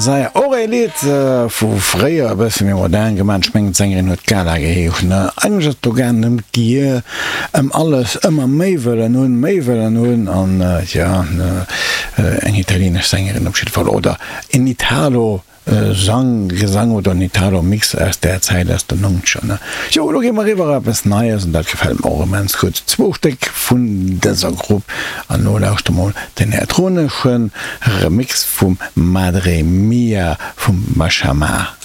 Masaya, och ee Lidd vu fréier, e bësse méi modern gemaach. Ech mengen d'Sängerin huet Gala geheescht, ne? Eigentlech ass et do gaangen ëm d'Gier, ëm alles ëmmer méi wëllen hunn, méi wëllen hunn an jo, eng italienesch Sängerin op jidde Fall oder en Italo Sang, Gesang oder en Italo Mix aus där Zäit, aus den Nonzeger, ne? Jo, elo gi mer eriwwer op eppes Neies an dat gefält mer och immens gutt. Zwou Stéck vun dëser Grupp an elo lauschte mol den elektronesche Remix vum Madre Mia vum Mashama.